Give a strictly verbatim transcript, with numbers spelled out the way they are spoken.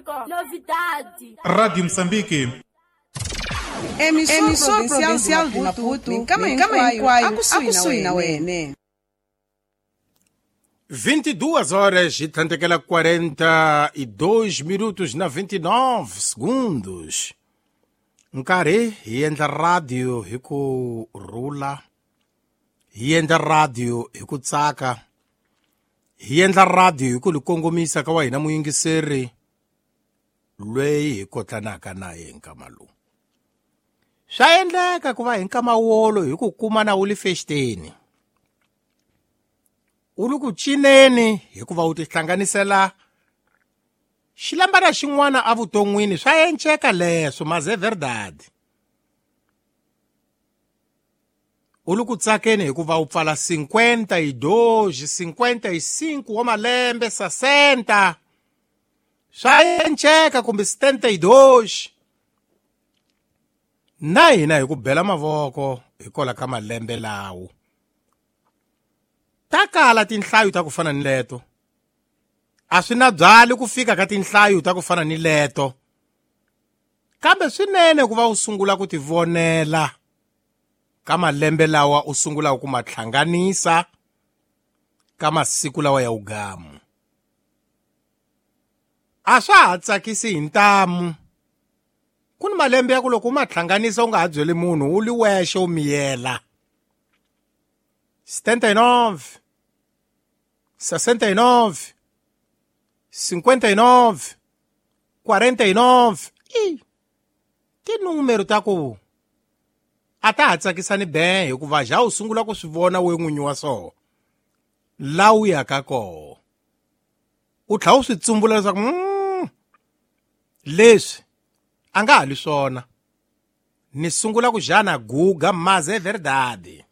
Público. Novidade. Rádio Moçambique. Emissor, Emissor Provincial de Maputo, Minkama Inkwayo, akusuhi na wene. vinte e duas horas e tantekela quarenta e dois minutos na vinte e nove segundos. Nkarhi hi endla radio hi ku rhula, hi endla radio hi ku tsaka, hi endla radio hi ku li kongomisa ka wa hina muyingiseri loyi hi kotlanaka na ye nkama lowu. Swa endleka ku va hi nkama wolo hi ku kuma na wu li fexiteni, u li ku cineni hikuva u tihlanganisela xilambana xin'wana evuton'wini. Swa enceka leswo, mas é verdade. U li ku tsakeni hikuva u pfala cinquenta e dois, cinquenta e cinco wa malembe, sessenta. Swa enceka kumbe setenta e dois. Na hina hi ku bela mavoko hikwalaho ka malembe lawo. Ta kala tinhlayo ta ku fana ni leto. A swi na byali ku fika ka tinhlayo ta ku fana ni leto. Kambe swinene ku va u sungula ku tivonela ka malembe lawa u sungulaka ku ma hlanganisa ka masiku lawa ya ugamu. A swa ha tsakisi hi ntamu. Ku ni malembe ya ku loko u ma hlanganisa u nga ha byeli munhu, u li wexe u miyela. setenta e nove, sessenta e nove, cinquenta e nove, quarenta e nove. I tinúmero ta ku a ta ha tsakisa ni be hikuva ja u sungula ku swi vona we n'winyi wa swoho la u yaka koho. U tlhela u swi tsumbula leswaku mm, leswi a nga ha li swona, ni sungula ku jana guga, mas é verdade.